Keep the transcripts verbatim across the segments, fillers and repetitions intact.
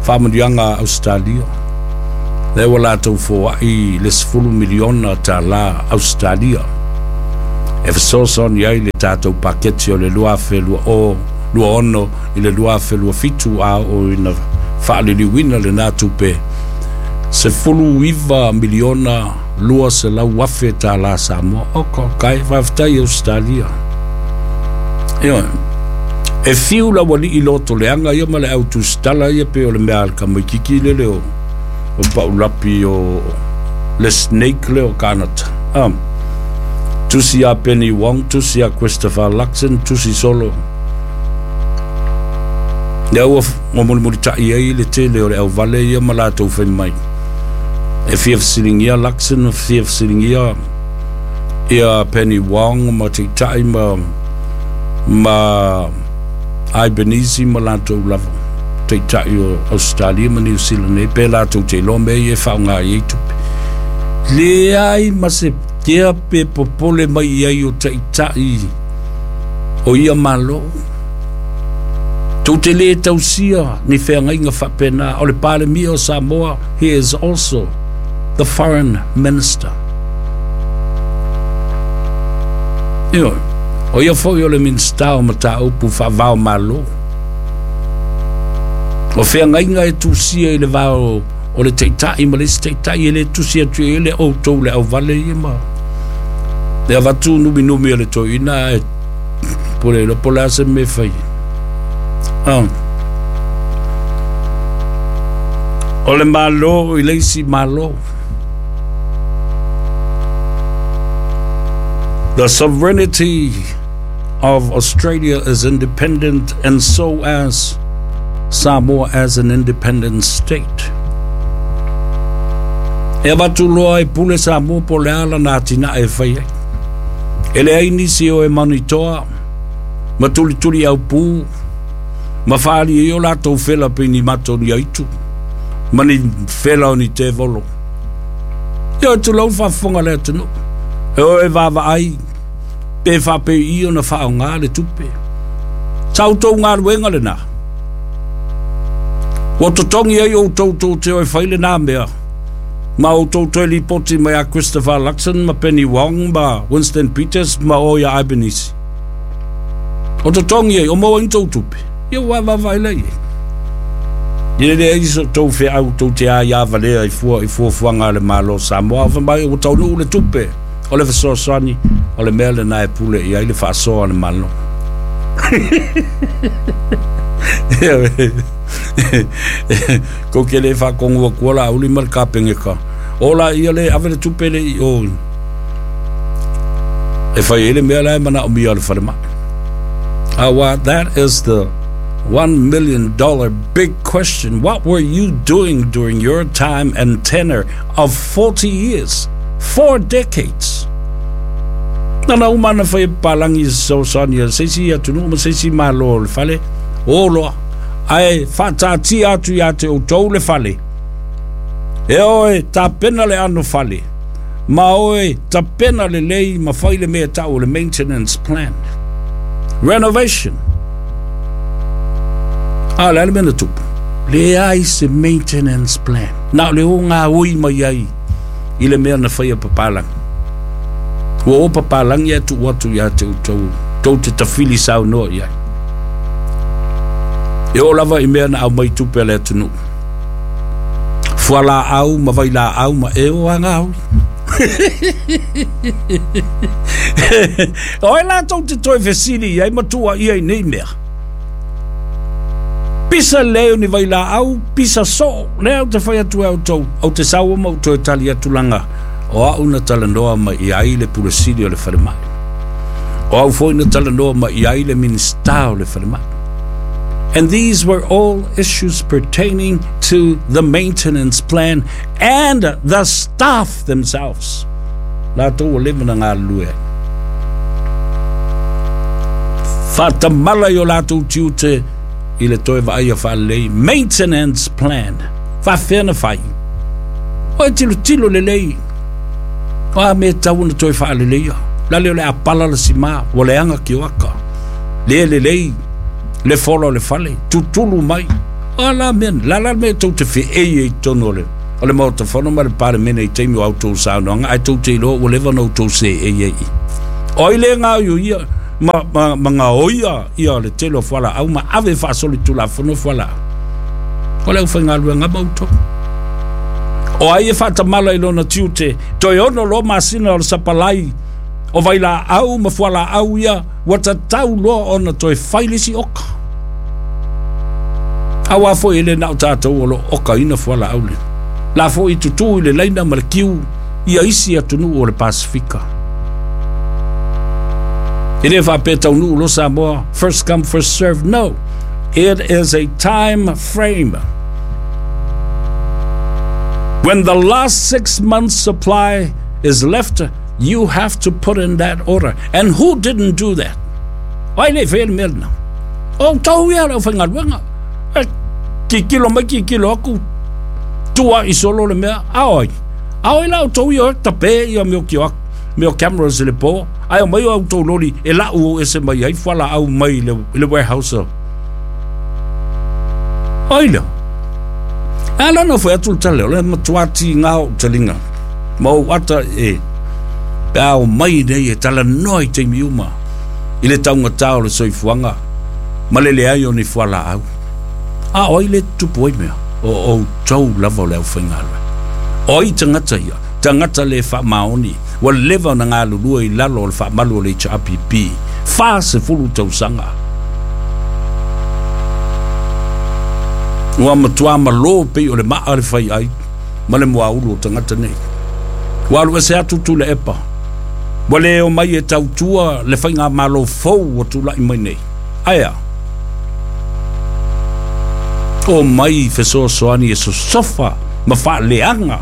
Faamanuiaga a Ausetalia lea ua latou foai le sefulu miliona tālā Ausetalia e fesoasoani ai le tatou paketi o le lua afe lua ono i le lua afe lua fitu, a oo ina faaliliuina lenā tupe sefulu iva miliona lua selau afe tālā Samoa. O kai faafetai Ausetalia. Ioe, e fiu la ualii loto leaga ia ma le autusitala ia pe o le mea a le kamaikiki lele o o paulapi o le snake le o Kanata. Um, tusi a Penny Wong, tusi a Christopher Luxon, tusi solo. Lea ua mulimulitai ai le tele o le auvale ia ma latou fai mai. E fia fesiligia Luxon, fia fesiligia ia Penny Wong ma taitai ma ma Albanese ma latou lava taitai o Australia ma New Zealand nei pe latou te iloa mea ia e faaaoga i ai tupe. Leai ma se kea pe popole mai i ai o taitai o ia malo. Tou te lē tausia ni feagaiga faapena. O le Palemia o Samoa, he is also the foreign minister. Ioe, o ia foi o le Minisita o Mataupu Faavao Malo. O feagaiga e tusia i le va o le taitai ma le isi taitai e lē tusi atu i ai le outou le auvale ia ma le avatu numinumi o le toeaina ae po le iloa po o le a se mea e fai. Ah. O le Malo i le isi Malo. The sovereignty of Australia is independent, and so as Samoa as an independent state. E avatu loa e pule Samoa po o le a lana atinae e fai ai. E leai nisi o e manitoa ma tulituli aupū ma faali ai o latou fela pei ni mato ni aitu ma ni fela o ni tevolo. Ia tulou faafofoga le atunuu. E o e vaavaai pe faapei ona faaaoga le tupe. Sa outou galuega lenā. Ua totogi ai outou tou te o e fai lenā mea. Ma outou toe lipoti mai a Christopher Luxon ma Penny Wong ma Winston Peters ma o ia Albanese. O totogi ai, o maua ai ni tou tupe. Ia ua vaavaai lea i ai. Ia leai so outou feau tou te aia valea i fua i fuafuaga a le Malo o Samoa. Fai mai ua taunuu le tupe o le fesoasoani o le mea lenā e pule i ai le faasoa a le Malo. Kou te le faatonu atua la auli ma le kapeneta. O la ia le ave le tupe le i o e fai ai le mea la e manaomia o le falemai. Aua, that is the one million dollar big question. What were you doing during your time and tenure of forty years, four decades? Nana uma ana fai e papalangi i se fesoasoani a se isi atunuu ma se isi Malo o le fale o loa, ae faataatia atu iā te outou le fale. E oe tapena le ano fale, ma oe tapena lelei ma fai le mea tau o le maintenance plan. Renovation. A o le a le mea na tupu? Leai se maintenance plan. Na o le o gaoi mai ai i le mea na faia papalangi. Ua o papalangi ae tuu atu iā te outou, tou te tafili saunoa i ai. E oo lava i mea na aumai tupe a le atunuu. Fualaau ma vailaau ma e o a gaoi. O ai latou te toe fesili i ai ma tuuaia i nei mea? Pisa lelei o ni vailaau, pisa soo, lea ou te fai atu ai outou, ou te saua ma ou toe tali atu laga o au na talanoa mai i ai le Pule Sili o le Falemai. O au foi na talanoa mai i ai le Minisita o le Falemai. And these were all issues pertaining to the maintenance plan and the staff themselves. Latou ua leva na galulue ai. Faatamala i o latou tiute i le toe vaaia faalelei maintenance plan. Faafefea na fai? O e tilotilo lelei. O a mea e tatau ona toe faaleleia. Lale o le a pala le sima, ua leaga kioaka. Le lelei le fola o le fale, tutulu mai. O la mea, la la mea tou te feei e tonu o le o le Maota Fono ma le Palemene i taimi o a outou saunoaga, ae tou te iloa ua leva ona outou seei ai i. O ai le gaoioia ma, ma, ma gaoia ia le tele o fualaau ma ave faasolitulafono fualaau? O le aufaigaluega ma outou. O ai e faatamala i lona tiute, toe ono loa masina o le sapalai o vailaau ma fualaau ia, ua tatau loa ona toe fai le isi oka. Auā foi e le na o tatou o lo o okaina fualaau le. La foi tutū i le laina ma le kiu ia isi atunuu o le Pasifika. E le faapea taunuu loa Samoa, first come, first serve. No, it is a time frame. When the last six months supply is left, you have to put in that order. And who didn't do that? O ai le i faia le mea lena? O outou ia le aufaigaluega. E kikilo mai kikilo aku, tua'i solo le mea, a o ai? A o ai la outou ia o e tape ia mea o kioak, mea o cameras i le po, ae omai o outou loli e lau ese mai ai fualaau mai i le, i le warehouse. O ai lea? E ala ona fai atu le tala, o le matua tiga o ou taliga ma ou ata e pe a omai nei e talanoa i taimi uma i le taugata o le soifuaga ma le leai o ni fualaau. A o ai le tutupu ai mea? O outou lava o le aufaigaluega. O ai tagata ia? Tagata le faamaoni, ua leva ona galulue i lalo o le faamalu o le H R P P, fasefulu tausaga. Ua matua malo pei o le maa le fai ai ma le muaulu o tagata nei. Ua alu ese atu Tuilaepa, ua le omai e tautua le faigamalo fou ua tula'i mai nei. Ae a? O mai fesoasoani e sosofa ma faaleaga.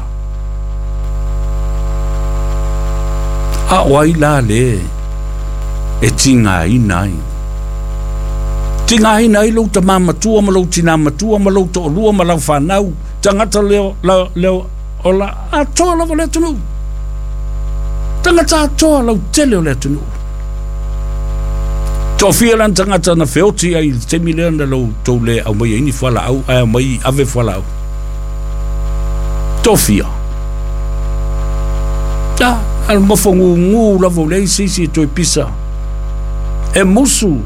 A o ai la le e tigaina ai? Tigaina ai lou tamā matua ma lou tinā matua ma lou to'alua ma lau fanau, tagata leo, la, leo, o la atoa lava o le atunuu. Tagata atoa lautele o le atunuu. Toafia la ni tagata na feoti ai i le taimi lea na lou tou le aumaia ai ni fualaau, ae aumai ave fualaau. Toafia. A, a le mafagugū lava o leai se isi e toe pisa. E musu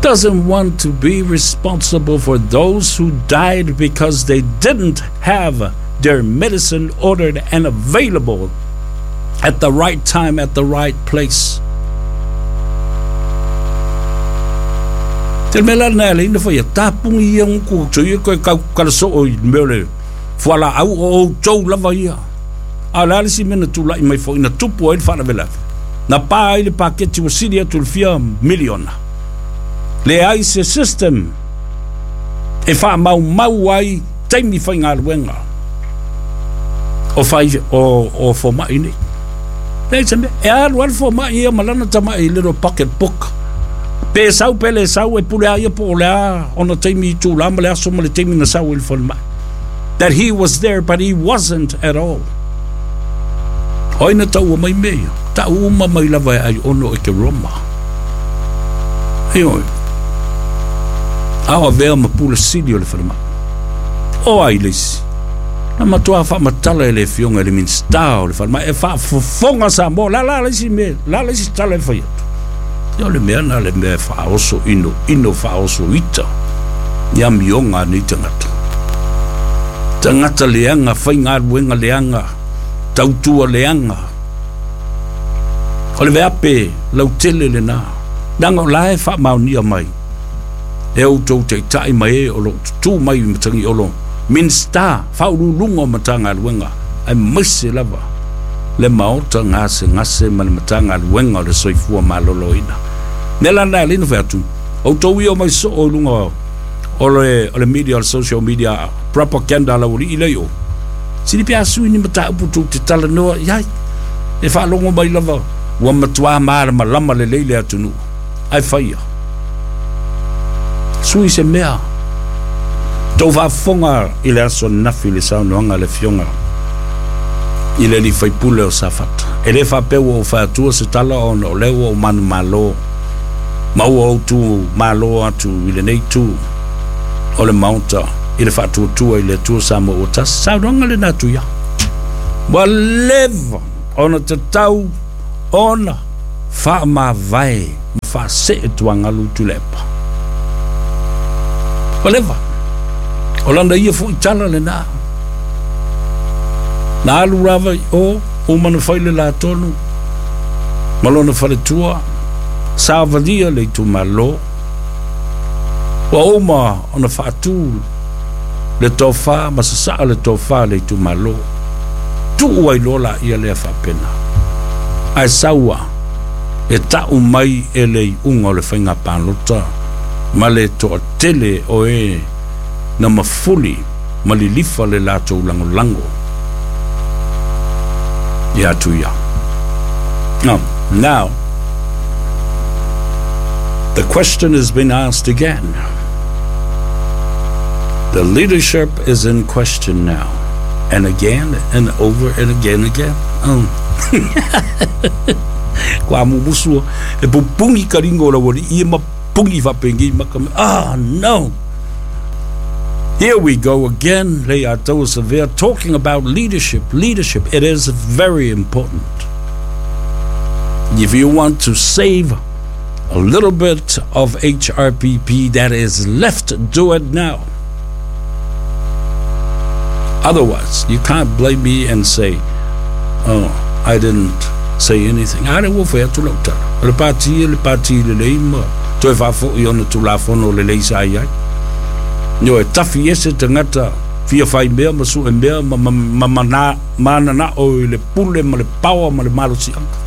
doesn't want to be responsible for those who died because they didn't have their medicine ordered and available at the right time at the right place. Te mea la lena e ala ai ona faia tapugi ia guku tou ia koe kau kalasoo i le mea o le fualaau o outou lava ia. A o le a le isi mea na tula'i mai foi na tupu ai le faalavelave, na pa ai le paketi ua sili atu i le fia miliona. Leai se system e faamaumau ai taimi faigaluega o fai o o foma'i nei. Leai se mea, e alu lava le foma'i ia ma lana tama'i i little pocket book. Pe sau pe le sau e pule a ia po o le a ona taimi itulā ma le aso ma le taimi na sau ai le falemai. That he was there but he wasn't at all. O ai na taua mai mea ia? Ta'u uma mai lava e ai ono e ke Roma. Ioe. A o avea ma pule sili o le falemai. O ai le isi? Na matua faamatala e le afioga i le Minisita o le falemai e faafofoga Samoa. La la le isi mea, la le isi tala e fai atu. Ia o le mea na le mea e faaoso ino ino faaoso ita i amioga a nei tagata. Tagata leaga, faigaluega leaga, tautua leaga. O le veape lautele lena. Leaga o la e faamaonia mai e outou taitai ma e o loo tutū mai i Matagiolo, Minisita, faauluuluga o Matagaluega, aemaise lava le Maota gasegase ma le Matagaluega o le Soifua Maloloina. Mea la lena e ala ai ona fai atu, outou ia omai soo i luga o le, o le media, o le social media, propaganda a laualii lea i o. Sili pe a sui ni mataupu tou te talanoa i ai. E faalogo mai lava ua matua malamalama lelei le atunuu, ae faia. Sui se mea. Tou faafofoga i le aso ananafi i le saunoaga a le Afioga i le alii faipule o Safata. E le faapea ua ou fai atua se tala ona o lea ua ou manumalo ma ua ou tu malo atu i lenei itu O le maota i le faatuatua i le Atua Samoa ua tasi saunoaga lena Tuia ua leva ona tatau ona faamavae ma faasee tuagalu Tuilaepa ua leva o lana ia foʻi tala lenā na alu lava i o uma na fai le latonu ma lona faletua savalia le itumalo ua uma ona faatū le tofā ma sasaa le tofā le itumalo tuu ai loa laia lea faapena ae saua e taʻu mai e le iuga o le faiga palota ma le toatele o e na mafuli ma lilifa le latou lagolago ia Tuia. Now, now, the question has been asked again. The leadership is in question now. And again and over and again again. Oh. Kwa mumusu e pupungi karingo la wali i ma pungi fapengi maka. Ah, no. Here we go again, Leiataua Savea, talking about leadership. Leadership, it is very important. If you want to save a little bit of H R P P that is left, do it now. Otherwise, you can't blame me and say, oh, I didn't say anything. I don't want to look at le pati, le pati, le leima, toe fafo i ona tulafono le leisa ai ai. Nio e tafi ese tangata fia fai mea ma su e mea ma ma ma ma mana o i le pule ma le pawa ma le malo si anga.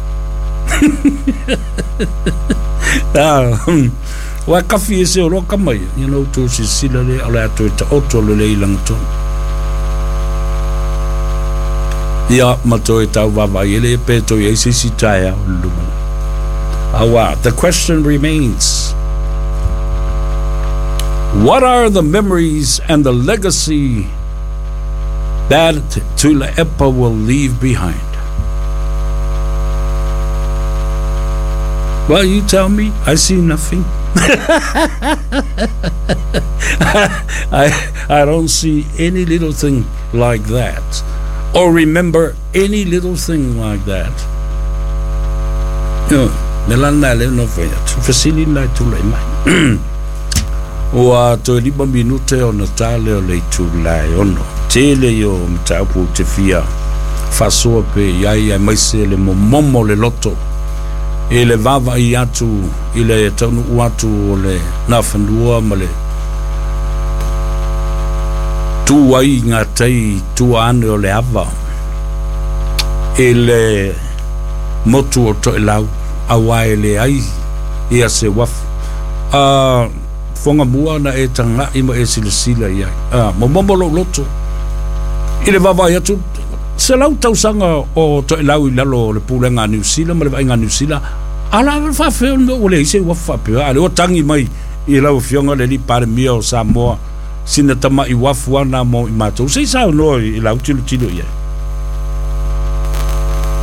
Ah, wa kafi ese o loka mai, you know, tu si sila le o le ato e ta oto le le ilanga tonu. Ia ma toe tau vava i ele pe toi e sisi taia o lumana. Awa, the question remains. What are the memories and the legacy that Tuilaepa will leave behind? Well, you tell me. I see nothing. I, I don't see any little thing like that, or remember any little thing like that. You know, Ua toe lima minute o na tale o le itulai ono. Tele i o mataupu te fia faasoa pe iai ai maise le momomo le loto. E le vava i atu i le taunuu atu o le nafanua ma le tu ai ngā tai tua ane o le ava. E le motu o Toelau aua e le ai ia se wafu. Uh, Fonga mua na e tanga i ma e silasila i ai. Ah, momomo lo loto. I le vava i atu, se lau tausaga o Toelau i lalo o le pulega a Niu Sila ma le vaaiga a Niu Sila, ala faafea o le ise ua faapea. Ale o tangi mai i lau afioga le alii Palemia o Samoa, sina tama'i uafu ana mo i matou. Se i saunoa i lau tilotilo i ai.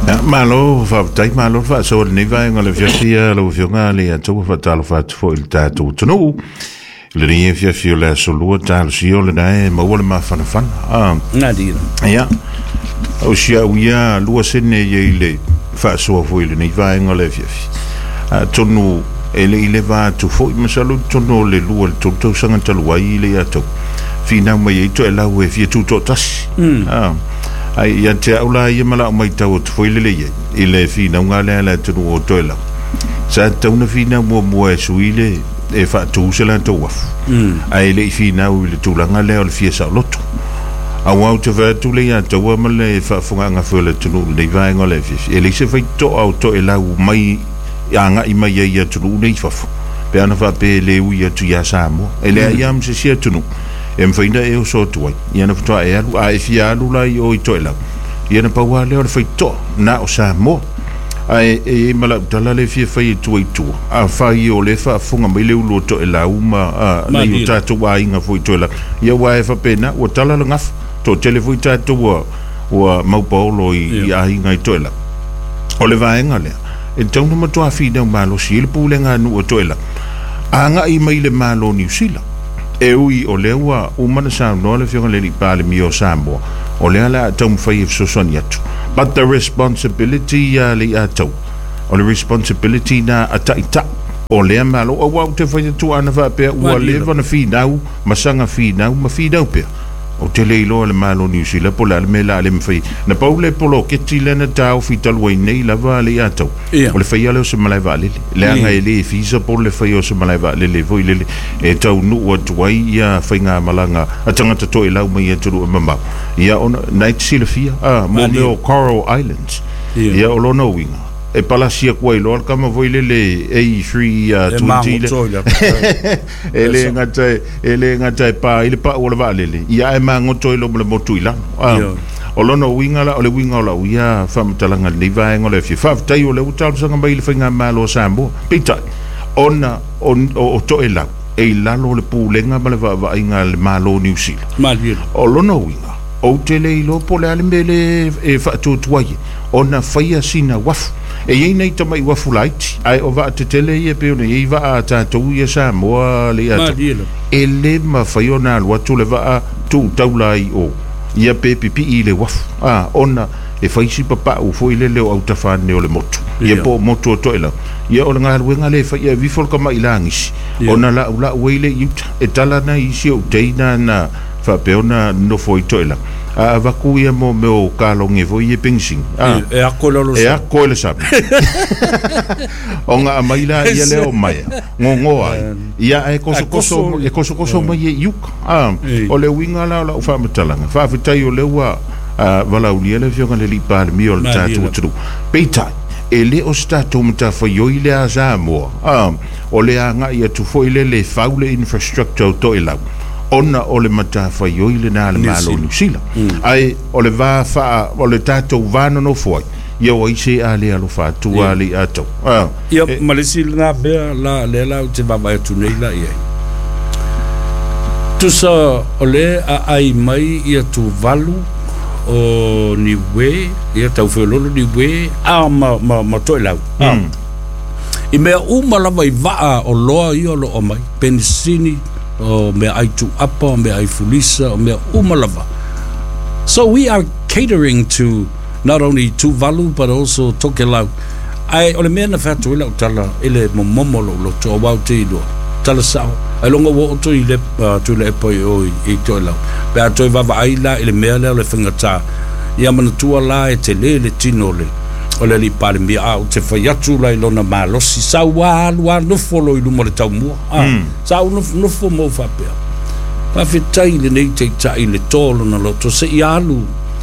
Ya, malo faafetai, malo faasoa lenei vaega o le afiafi lau afioga Leiataua faatalofa atu foʻi i le tatou atunuu lenei afiafi o le aso lua talosia o lena e maua le mafanafana. Ah, ia o sia'u ia lua sene ia i le faasoa foʻi lenei vaega o le afiafi atonu e leʻi leva atu foʻi masalo tonu o le lua le tolu tausaga talu ai i Leiataua finau mai ai Toelau e fia tutoʻatasi. Ah, ai ia te au la ia ma la'u maitau atu foi lelei ai i le finauga lea le atunuu o Toelau sa tatau na finau muamua e sui le e faatū se latou afu ae leʻi finau i le tulaga lea o le fia saoloto auā ou te fai atu le Iataua ma le faafogaaga foi o le atunuu lenei vaega o le afiafi e leai se faitotoa o Toelau mai agaʻi mai ai i atunuu nei fafo pe ana faapea e lē ui atu iā Samoa e leai a ma se isi atunuu e mawhaina e oso atu ai ia na whatoa e alu a e fia alu la i o i Toelau ia na paua lea o le whaitoa na o Samoa a e e malau tala le fia whai e tua i tua a whai o le whaafunga mai le ulu o Toelau ma nei o tātou aiga foi Toelau ia ua e whapena ua tala le gafa to tele foi tātou ua ua maupaolo i, i aiga i Toelau o le vaega lea e tauna matua whinau malosi i le pulega nuu o Toelau agaʻi mai le Malo Niu Sila E ui o lea ua uma na saunoa le Afioga i le Alii Palemia o Samoa, o lea la a taumafai e fesoasoani atu. But the responsibility ia le ia tau, o le responsibility na a taitai o lea malo, auā ou te fai atu ana faapea ua leva na finau ma saga finau ma finau pea. Ou te le iloa le Malo Niu Sila po o le a le mea la a le mafai. Na pau le poloketi lea na taofi talu ai nei lava le ia tau. Ia. O le faia lea o se malae vaalele. Leaga e le feasible le faia o se malae vaalele foi lele e taunuu atu ai ia faigamalaga a tagata toelau mai atunuu e mamao. Ia ona na e te silafia a mo mea o Coral Islands. Ia. Ia o lona uiga e palasi atu ai loa le kama foi lele A three E twenty le magoto i le e le gata e le gata e pa i le pau o le vaalele ia ae magoto ai loa ma le motu i lalo. Ah, Ia. o lona uiga la o le uiga o lau ia faamatalaga lenei vaega o le afio. Faafetai o lea ua talosaga mai i le faigamalo o Samoa. Peitai, ona o, o, o Toelau e i lalo o le pulega ma le vaavaaiga a le Malo Niu Sila. Malie. O lona uiga, ou te le iloa po o le a le mea le e faatuatua ai ona faia sina uafu. E iai nei tama'i uafu laiti, ae o vaatetele ia pei ona iai vaa a tatou ia Samoa le ia Malie lava. E lē mafai ona alu atu le vaa tu'utaula ai o ia pe pipi'i i le uafu a ona e faisi papa'u foi lele o autafane o le motu ia Ia. po o motu o Toelau. Ia o le galuega le faia e vifo le kama'i lagisi Ia. ona la'ula'u ai le i uta e tala na isi o teina na faapea ona nofo i Toelau a avaku ia mo mea o kaloge foi ia penisini a E ako le olo e sa. Ako i le sami o ga mai la ia lea o maea gogoa ai ia ae kosokoso koso- e kosokoso mai e i uka a Ei. o le uiga la o la'u faamatalaga. Faafetai o lea ua ah, valaulia le afioga le Alii Palemia o le Malie tatou lava. atunuu. Peitai e lē o se tatou matafaioi le a Samoa a o le aga'i atu foi le le fau le infrastructure o Toelau ona o le matafaioi lenā a le Niu Malo Sila. Niu Sila ae o le va faa o le tatou va nonofo ai ia o ai se a le alofa atu a Ia. le atau a Ia, ma le isi lena mea la lea la ou te vaavaai atu nei la i ai. Tusa o le aai mai ia Tuvalu o Niue, ia taufelolo Niue, a ma, ma, ma Toelau. Ah. I mea uma lava i vaa o loa ia o lo o mai. Penisini, o mea ai tuapa, o mea ai fulisa, o mea uma lava. So we are catering to not only Tuvalu but also Tokelau. Ai o le mea na whatu ila o tala i le momomo lo loto o wau te iloa. Tala sao. Ai longa wo o i le uh, tu le epo i o i, i Toelau. Pe a toi vava ai la i le mea lea o le whangata. Ia manatua la e te le le tino le o le Alii Palemia a o te fai atu la i lona malosi sa ua alu a nofo lo i luma o le taumua a sa u nofo nofo mo faapea faafetai lenei taitai le tō lona loto se i alu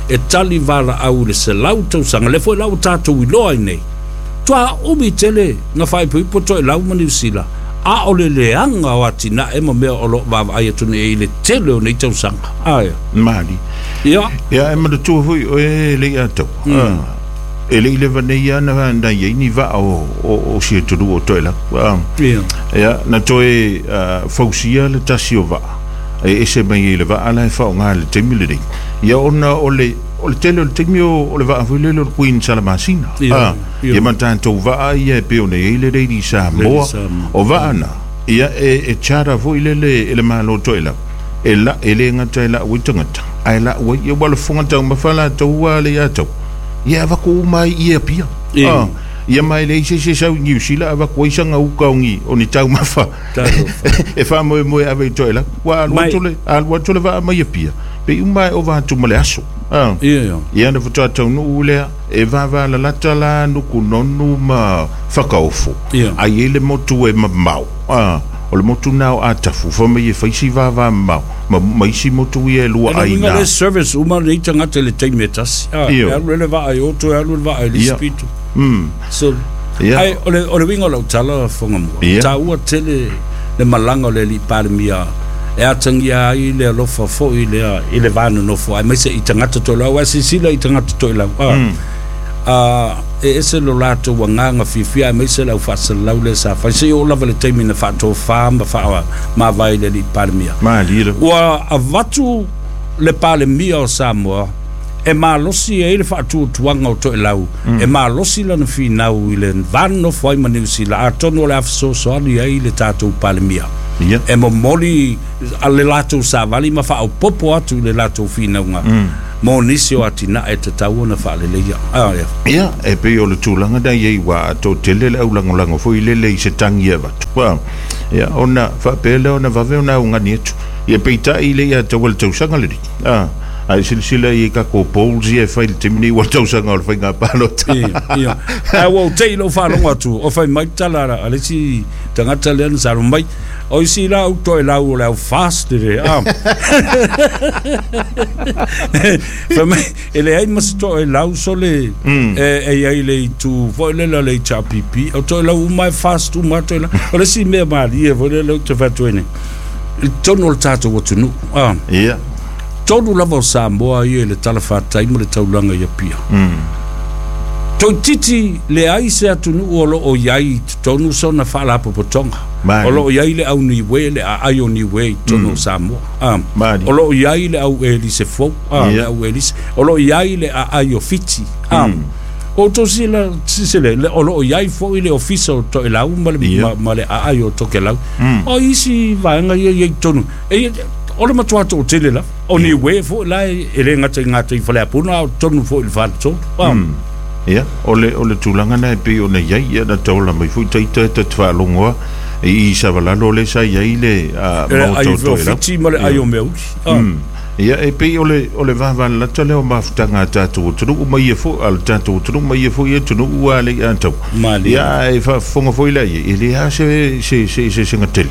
e tali valaau i le selau tausaga le foi la ua tatou iloa ai nei toa umi tele na faaipoipo Toelau ma Niu Sila a o le leaga o atinae ma mea o loo vaavaai atu nei i le tele o nei tausaga aia. Mali. Ia. Ia e manatua foi o e le ia tau e le i leva nei ana na iai ni vaa o o o si atunuu o Toelau a Ia. Ia na toe ah, fausia le tasi o vaa e ese mai ai le vaa la e faaaogā i le taimi lenei ia ona o le o le tele o le taimi o o le vaa foi lele o le Queen Salamasina. Ia, a ia. Ia ma tatou vaa ia e pei ona iai le Lady Samoa. Lady Samoa. O vaa na ia e e charter foi lele e le Malo Toelau e la e le gata e la'u ai tagata ae la'u ai ia ua le fofoga taumafa latou a le ia tau ia avaku uma ai i Apia. Ia. Ah, ia mai le se se sau i Niu Sila avaku ai saga uka o ni o ni taumafa Talofa. e faamoemoe ave i Toelau ua alu Mai- atu le alu atu le vaa mai Apia pe uma e ova atu ma le aso ah. Ia ia. Ia na faatoa taunuu lea e vavalalata la Nukunonu ma Fakaofo. Ia. Ai e le motu e mamao ah, o le motu na o Atafu fa mai e faisi vava mamao ma, ma isi motu ia e lua E le ai uiga na le service uma nei tagata i le taimi e tasi. Ah, Io. e alu le vaa i oto, e alu le vaa i le Ia. isi pito. mm. So, Ia. ai, o le, o le uiga o lau tala fonga mua. Ia. Tāua tele le malaga o le Alii Palemia e atagia ai le alofa foi lea i le va nonofo ai maise i tagata toelau ae silasila i tagata toelau ah. Mm. Ah, e ese lo latou agaga fiafia aemaise le au faasalalau lea sa fai seia oo lava le taimi na faatofā ma faamavae i le Alii Palemia. Malie le Ua avatu le Palemia o Samoa e malosi ai le faatuatuaga o Toelau mm. e malosi lana finau i le va nonofo ai ma Niu Sila atonu o le a fesoasoani ai le tatou Palemia. Ia. E momoli a le latou savali ma faaopopo atu i le latou finauga mo nisi o atinae e tatau ona faaleleia. Ah, ia. Ia, e pei o le tulaga na iai ua toatele le aulagolago foi lele i se tagi e avatu. Ua, ia, ona faapea lea ona vave ona augani atu. Ia peitai le ia taua le tausaga lenei. Ah, ae silasila i tatou polls ia e fai i le taimi nei ua le tausaga o le faiga palota. Ia, ia. Ae ua ou te i lou faalogo atu, o fai mai tala a le isi tagata lea na saunoa mai, o isi la au toelau o le au fast le, ah. Fai mai, e leai ma se toelau sole e e iai le itu foi lele o le H R P P, o toelau uma e fast uma toelau. O le isi mea malie foi lele ou te fai atu ai nei, i totonu o le tatou atunuu, ah. Ia. Tolu lava o Samoa ia i le talafatai ma le taulaga i Apia. Toeitiiti leai se atunuu o loo iai i totonu sona faalapotopotoga. Mali. O loo iai le au Niue, le aai o Niue i totonu o Samoa. Ah. Mali. O loo iai le au Elise fou, ah, Ia. le au Elise. O loo iai le aai o Fiti. Ah. O tosi la sisele le o loo iai foi le ofisa o Toelau ma le Ia. ma, ma le aai o Tokelau. O isi vaega ia ia i totonu. E o le matua toatele la. O Niue foi la e le gata i ngā tei faleapuna, o totonu foi i le faletolu. Ah. Ia, o le, o le tulaga na e pei ona iai, ia na taola mai foi taita e ta te faalogo a, i i Savalalo le sa iai le, ah, E le maota ai o o Toelau. Fiti ma le ai o Meauli. Ah. Mm. Ia, e pei o le, o le vavalalata lea o mafutaga a tatou atunuu ma ia foi, a le tatou atunuu ma ia foi atunuu a le i atau. Malie. Ia, e faafofoga foi la ia, e le a se, se, se, se segatele.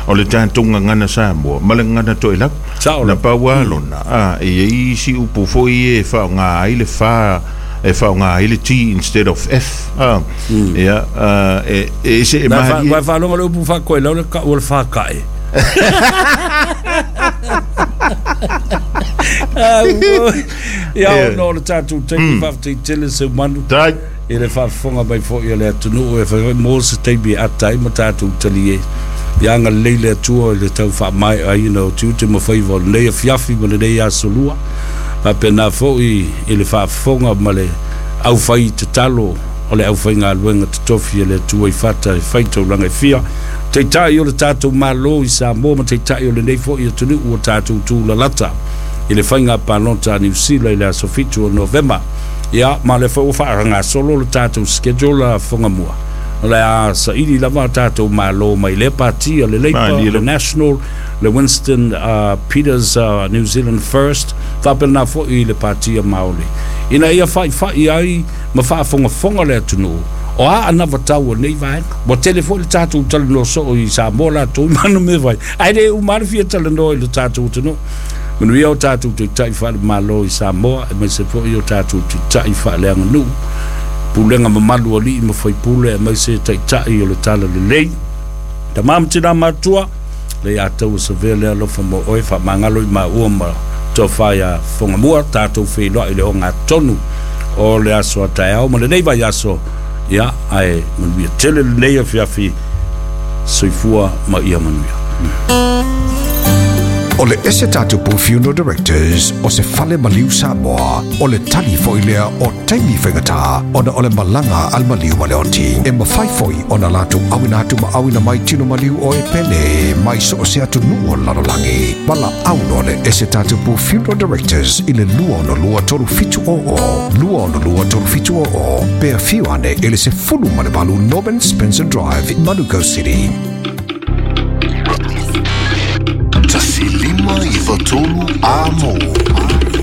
O le tatou gagana Samoa, ma le gagana Toelau. Sao Na la. pau a lona, ah, e iai isi upu foi e faaaoga ai le fa, e faaaoga ai le T instead of F. Ah, ia, ah, e, e se e Na fa- malie. vai faalogo le upu faakoelau le ka'u o le fāka'e. Ah, ua- ia, Ia. ona o le tatou taimi faafetai se manu. Tai. I le faafofoga mai foi o le atunuu e fai foi mo se taimi e ata ai ma tatou talie. Ia agalelei le Atua i le tau faamaeaina o tiute ma faiva o lenei afiafi ma lenei aso lua. Faapena foi i le faafofoga ma le aufai tatalo o le aufaigaluega totofi e le Atua i fata e fai taulaga e fia. Taitai o le tatou Malo i Samoa ma taitai o lenei foi atunuu ua tatou tulalata i le faiga palota a Niu Sila i le aso fitu o Novema. Ia, ma le foi ua faagasolo le tatou schedule a Fogamua. O le a saili lava a tatou Malo mai le party, le Labour, Malie le lava. National, le Winston, uh, Peters, uh, New Zealand First, faapena foi i le party a Māori. Ina ia faifai ai ma faafogafoga le atunuu, o a anavatau o nei vaega. Ua tele foi le tatou talanoa soo i Samoa latou i mana mea fai. Ae le uma le fia talanoa i le tatou atunuu. Manuia o tatou taitai faalemalo i Samoa, aemaise foi o tatou taitai faaleaganuu. Pulega mamalu o alii ma faipule, aemaise taitai o le talalelei. Tamā ma tinā matua, le ia tau o savea le alofa mo oe, faamagalo i maua ma tofa ia Fogamua, tatou feiloai i le ogatonu o le aso a taeao ma lenei vaiaso. Ia, ae manuia tele lenei afiafi, soifua ma ia manuia. O le ese tatou Funeral Directors o se fale maliu Samoa, o le tali foi lea o taimi faigata, ona o le malaga a le maliu ma le oti. E mafai foi ona latou auina atu ma auina mai tino maliu o e pele mai so o se atunuu o le lalolagi. Valaau loa le ese tatou Funeral Directors i le lua ono lua tolu fitu o o, lua ono lua tolu fitu o o, pe afio ane i le sefulu ma le valu Norman Spencer Drive, Manukau City. Tasi lima iwa tolu a mou.